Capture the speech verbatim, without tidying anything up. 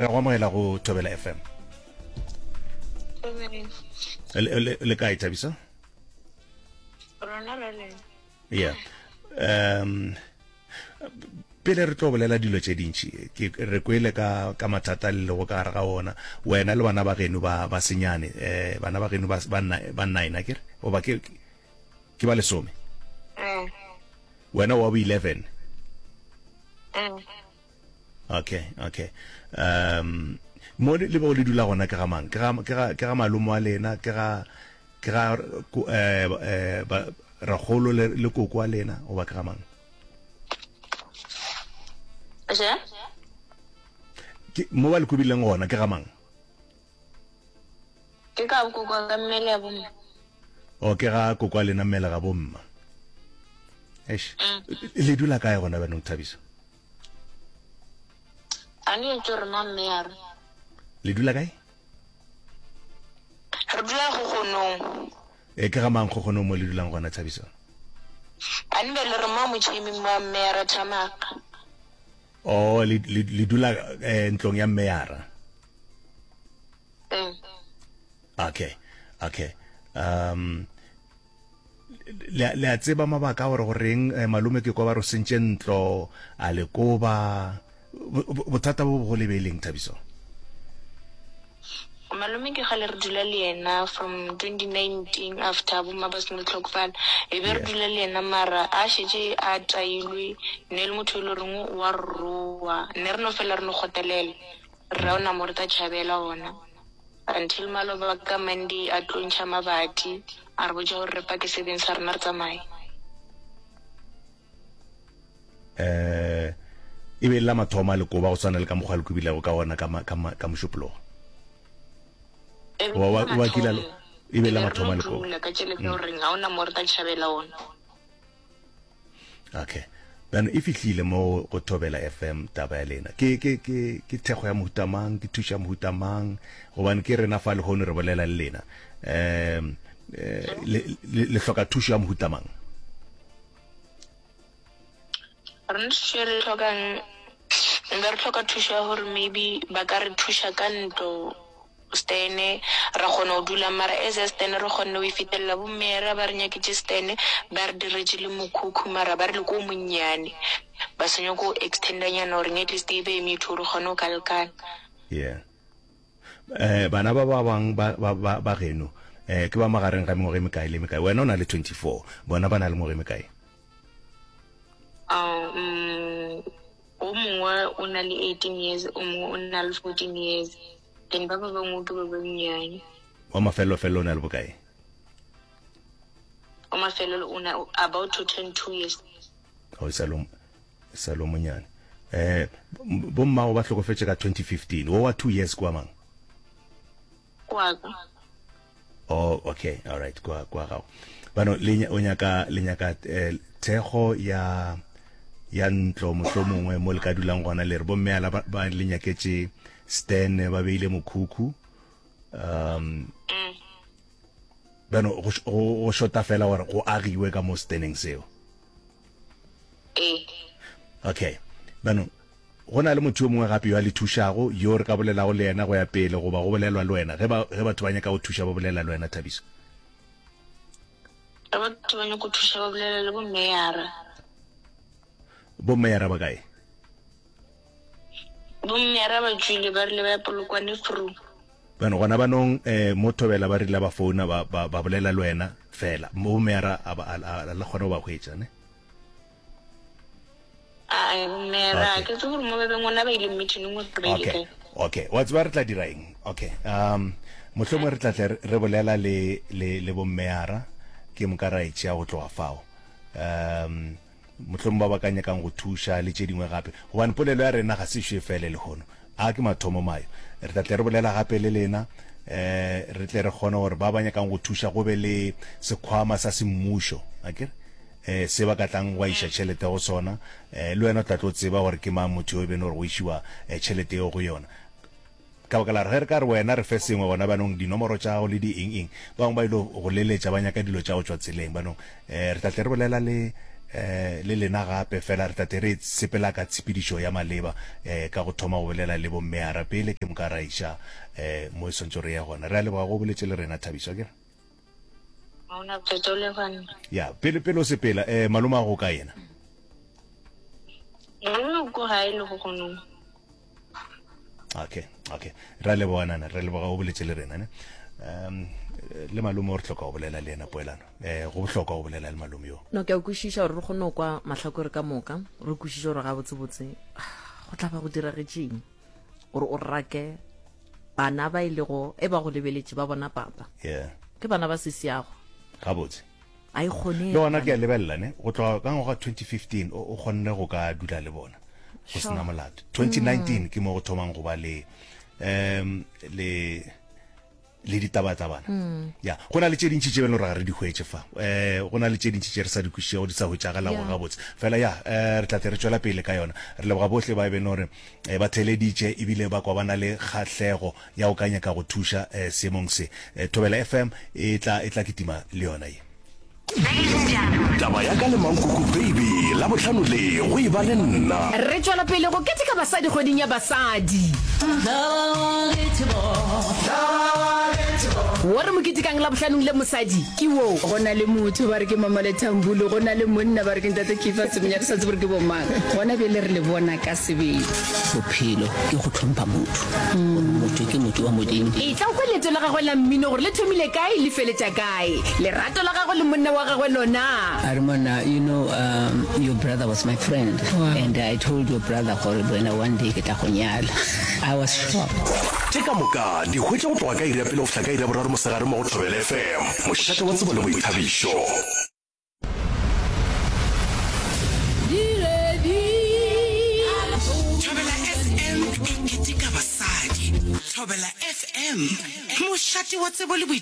Re go amogela go Thobela F M. Le, le, le kae, Thabiso? Rona re le. Yeah. Um pele re tlo bolela dilo tše dintši, ke re kwele ka ka mathata le lego ka gare ga ona, wena le bana ba geno ba ba senyane, eh bana ba geno ba ba ba nine akere, goba ke ke ba lesome. Eh. Wena wa bo eleven. Eh. Okay, okay. Um mo le bego le dula gona ke ga mang? Ke ga ke ga ke ga malome wa lena, ke ga ke ga eh eh ba rakgolo le le koko wa lena goba ke ga mang? Je? Ke mo ba le kobileng gona ke ga mang? Ke ka koko wa ka mmele ya bomma. O ke ga koko wa lena mmele ga bomma. Eish. Mm. Le dula kae gona bjanong, Thabiso? A ne tšo re ma mme ya re. Le dula kae? Re dula Kgogonong. E ke ga mang Kgogonong mo le dulang gona, Thabiso? A ne bjale re mo motšheming wa mme ya ra Thamaga. Oh, le, le, le dula eh, ntlong ya mme ya ra. Mm. Okay, okay. Um Le, le a tseba mabaka a gore goreng eh, malome ke kwa ba re o sentše ntlo, a le koba. Bothata bo bogolo e be e leng, Thabiso? Malome ke kgale re dula le yena from twenty nineteen after bomma ba seno hlokofala, e be re dula le yena mara a šetše a tailwe, ne e le motho e le goreng o a re roa, ne re no fela re no kgotelela, re ra o na mo re tla tšhabela gona. Until maloba ka Monday a tlo ntšha mabati a re botša gore re pake sebeng sa rena re tsamaye. Eh, e be e le la mathomo a lekoba go swana le ka mokgwa le kobilego ka gona ka, ka, ka Mošupologo. E be Wa, e le wa, la wa kile a mathomo. e be e E le la be re mathomo no a lekoba. dula ka tšhelete ya gore ga ona mo re tla tšhabela gona. Okay. Bjano e fihlile mo go Thobela F M taba ya lena. Ke ke ke ke thekgo ya mohuta mang, ke thušo ya mohuta mang, gobane ke rena fa lehono re bolela le lena. Um le le le hloka thušo ya mohuta mang? Rena thušo e re e hlokang, nka re hloka thušo ya gore maybe ba ka re thuša ka ntlo stene ra kgona go dula mara as a stene re kgonne go e fitelela bo mera ba re nyaketše stene ba re diretše le mokhukhu mara ba re le ko monnyane ba sa nyako go extenda nyana gore at least e be metho gore kgone go ka lekana. Yeah. Eh, bana ba ba bang ba ba ba ba geno eh ke ba magareng ga mengwaga e mekae le mekae? Wena o na le twenty-four, bona ba na le mengwaga e mekae? Um, o mongwe o na le eighteen years, o mongwe o na le fourteen years. Then ba ba bangwe ke ba bannyane. Wa mafelelo-felelo o na le bokae? Wa mafelelo o na about to turn two years. Oh, e sa le, e sa le o monyane. Eh, bo mmago ba hlokofetše ka twenty fifteen. Wo wa two years ke wa mang? Ke wa ka. Oh, okay, all right, kwa kwa gago. Bano le o nyaka le nyaka eh, thekgo ya ya ntlo mohlomongwe mo le ka dulang gona, le re bomme ala ba, ba le nyaketše stand ba beile mokhukhu. Um mm. Bano go, go, go shota fela gore go agiwe ka mo standeng seo. Ee. Okay. Bano go na le motho yo mongwe gape yo a le thušago, yo re ka bolelago le yena go ya pele, goba go bolelwa le wena ge ba, ge batho ba nyaka go thuša ba bolela le wena, Thabiso? Ge batho ba nyaka go thuša ba bolela le bommeyara. Bommeyara ba kae? Bommeyara ba tšwile, ba rile ba ya Polokwane Fru. Bano gona banong eh, mo Thobela ba rile ba founa ba, ba, ba bolela le wena fela. Bommeyara a ba, a, a, a le kgone go ba hwetša, ne? Ae, bommeyara, ke tsebe gore mo ba beng gona ba ile meeting gore ba ile Okay, kae. okay. Wa tseba re tla dira eng? Okay. Um, mohlomongwe re tla tle re bolela le, le, le bommeyara, ke moka ra e tšea go tloga fao. Um, mohlomongwe ba ba ka nyakang go thuša le tše dingwe gape, gobane polelo ya rena ga se ešo e fele lehono. A ke mathomo mayo. Re tla tle re bolela gape le lena, eh, re tle re kgone gore ba ba nyakang go thuša go be le sekhwama sa semmušo, akere? Eh, se ba ka tlang gwa iša tšhelete go sona, eh, le wena o tla tlo tseba gore ke mang motho yo e beno gore go išiwa, eh, tšhelete yeo go yona. Ka baka la gore ge re ka re wena re fe sengwe gona banong dinomoro tša gago le di eng eng, ba bangwe ba ilo go leletša ba nyaka dilo tša go tšwa tseleng. Banong, eh, re tla tle re bolela le, um le lena gape, fela re tla tle re sepela ka tshepedišo ya maleba um ka go thoma go bolela le bommeara pele, ke moka ra iša um mo e swantšego re ye gona. Re a leboga go boletše le rena, Thabiso, akere? Ga o na bothata, o leboga nna. Ya, pele pele o sepela, um malome a go kae yena? Malome o ko gae le go gonong. Okay, okay. Re a leboga nana, re a leboga o boletše le rena ne. Um le malome o re hloka go bolela le yena poelano. Eh go bohlokwa go bolela le malome yo. No ke a kwešiša gore re kgone go kwa mahlakore ka moka, re kwešiše gore gabotsebotse go tla ba go diragetšeng gore o rake bana ba e lego e ba go lebeletše ba bona papa. Yeah. Ke bana ba sesiago. Gabotse. A e kgonege. Le gona ke a lebelela ne, go tloga ka ngwaga twenty fifteen o kgonne go ka dula le bona go sena molato. twenty nineteen ke mo go thomang go ba le um le le ditabatabana. Ya, go na le tše dintši tše bjalo gore ga re di hwetše fa. Um go na le tše dintši tše re sa di kwešišego di sa hwetšagalago gabotse. Fela ya, um re tla tle re tšwela pele ka yona. Re leboga bohle ba e beng gore ba theeleditše ebile ba kwa ba na le kgahlego ya go ka nyaka go thuša um seemong se. Thobela F M e tla e tla kitima le yona ye. Taba ya ka le Mankuku Baby, Labohlano le go e ba le nna. Re tšwela pele go keteka basadi kgweding ya basadi. Wo re mo ketekang Labohlanong le mosadi ke wo. Go na le motho ba re ke Mama Lethambulu, go na le monna ba re ke Ntate Keefer Semenya, re sa tsebe gore ke bomang. Gona bjale re le bona ka sebele. Bophelo ke go hlompha motho, gore motho ke motho wa Modimo. Etla o kwe leeto la gagwe la mmino gore le thomile kae le feletša kae. Lerato la gagwe le monna wa gagwe lona. A re, Monna, you know, um, your brother was my friend, and I told your brother gore wena one day ke tla go nyala. I was shocked. Tše ka moka di hwetše go tloga ka iri ya pele go fihla ka iri ya boraro mosegare mo go Thobela F M, mošate wa tsebo le boithabišo. Thobela F M e keteka basadi. Thobela F M, mošate wa tsebo le boithabišo.